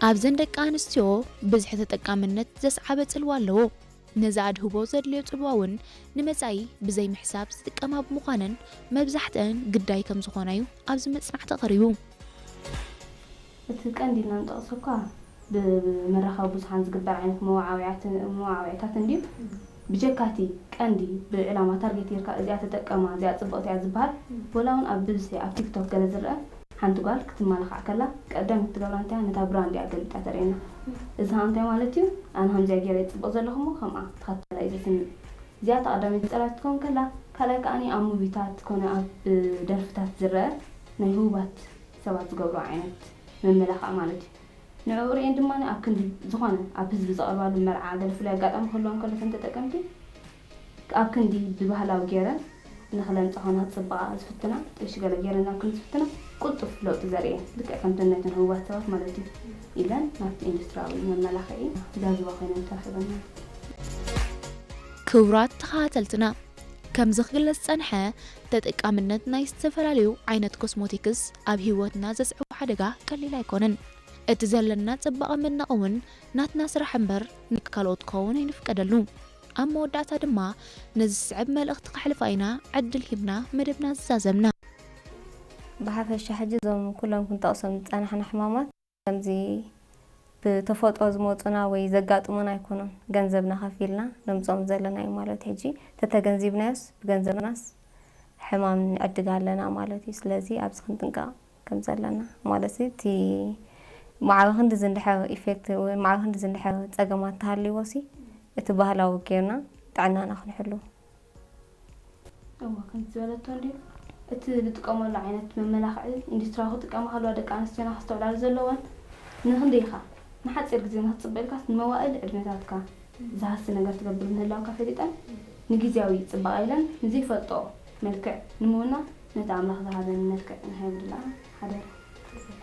ኣብዘን ደቂ ኣንስትዮ ብዝሒ ተጠቃምነት ዘስዓበ ጽልዋ ኣለዎ። ነዚ ኣድህቦ ዘድልዮ ጽልዋ እውን ንመጻኢ ብዘይ ምሕሳብ ዝጥቀማ ብምዃነን መብዛሕትአን ግዳይ ከም ዝኾና እዩ ኣብዚ መጽናዕቲ ቀሪቡ። እቲ ቀንዲ ኢልና ንጠቕሶ እኳ ብ- ብመራኸቢ ብዙሓን ዝግበር ዓይነት መዋዓውያት- መዋዓውዒታት እንድዩ። ብጀካቲ ቀንዲ ብዕላማ ታርጌት ጌርካ እዚኣ ተጠቀማ፣ እዚኣ ጽብቕቲ እያ ዝበሃል፣ ወላ እውን ኣብ ብዝሒ ኣብ ቲክቶክ ገለ ዝረአ ሓንቲ ጓል ክትመላኻዕ ከላ ቀዳም ትገብራ እንታይ እያ? ነታ ብራንድ እያ ገልቢጣ ተርእየና። እዚ ከዓ እንታይ ማለት እዩ? ኣነ ከምዚኣ ገይረ እየ ጽብቕ ዘለኹ እሞ ከምኣ ተኸተላ እዩ ዘስምዕ። እዚኣ እታ ቀዳመይቲ ጸላኢት ክትከውን ከላ፣ ካልኣይ ከዓኒ ኣብ ሙቪታት ኮነ ኣብ ደርፍታት ዝረአ ናይ ህቡባት ሰባት ዝገብሮ ዓይነት መመላኽዒ ማለት እዩ። ንዕኡ ርእየን ድማ ኣብ ክንዲ ዝኾነ ኣብ ህዝቢ ዝቐርባሉ መርዓ ገለ ፍሉይ ኣጋጣሚ ክህልወን ከሎ እተን ተጠቀምቲ ኣብ ክንዲ ብባህላዊ ገይረን ንኽለምጻ ኮነ ክጽብቓ ዝፍትና ጥሽ ገለ ገይረን ኣብ ክንዲ ዝፍትና ቅልጡፍ ለውጢ ዘርእየን ልክዕ ከምተን ናይተን ህቡባት ሰባት ማለት እዩ ኢለን ናብቲ ኢንዱስትሪያዊ መመላኽዒ ዛዝባ ኮይነን ተረኺበን ማለት እዩ። ክቡራት ተኸታተልትና፣ ከምዚ ክግለጽ ዝጸንሐ ተጠቃምነት ናይ ዝተፈላለዩ ዓይነት ኮስሞቲክስ ኣብ ህይወትና ዘስዕቦ ሓደጋ ቀሊል ኣይኮነን። እቲ ዘለና ጽባቐ መድነቒ እውን ናትና ስራሕ እምበር ንካልኦት ክኸውን ኣይንፍቀደሉ። ኣብ መወዳእታ ድማ ነዚ ዝስዕብ መልእኽቲ ከሕልፋ ኢና ዕድል ሂብና መደብና ዝዛዘምና። ብሓፈሻ ሕጂ እዞም ኩሎም ክንጠቕሶም ዝጸናሕና ሕማማት ከምዚ ብተፈጥሮ ዝመጹና ወይ ዘጋጥሙና ኣይኮኑን። ገንዘብና ከፊልና ነምጽኦም ዘለና እዩ ማለት ሕጂ ተተገንዚብናዮስ ብገንዘብናስ ሕማም ንዕድግ ኣለና ማለት እዩ። ስለዚ ኣብዚ ክንጥንቀቕ ከም ዘለና ማለት እዩ። እቲ ማዕበ ክንዲ ዝንድሐ ኢፌክት ወይ ማዕበ ክንዲ ዝንድሐ ጸገማት ተሃልይዎ ሲ እቲ ባህላዊ ጌርና ጥዕናና ክንሕሉ እወ ከምቲ ዝበለቶ እንድዩ እቲ ዝጥቀመሉ ዓይነት መመላኽዒ ኢንዱስትሪያዊ ክጥቀማ ከለዋ ደቂ ኣንስትዮና ከስተውዕላሉ ዘለወን ንክንደይ ኢኻ ንሓፂር ግዜ ንክትፅበ ኢልካስ ንመዋእል ዕድመታትካ ዝሃሲ ነገር ትገብር ምህላውካ ፈሊጠን ንግዜያዊ ፅባቐ ኢለን ንዘይፈልጦ መልክዕ ንምውናን ነቲ ኣምላኽ ዝሃበን መልክዕ ንሃይብላ ሓደራ።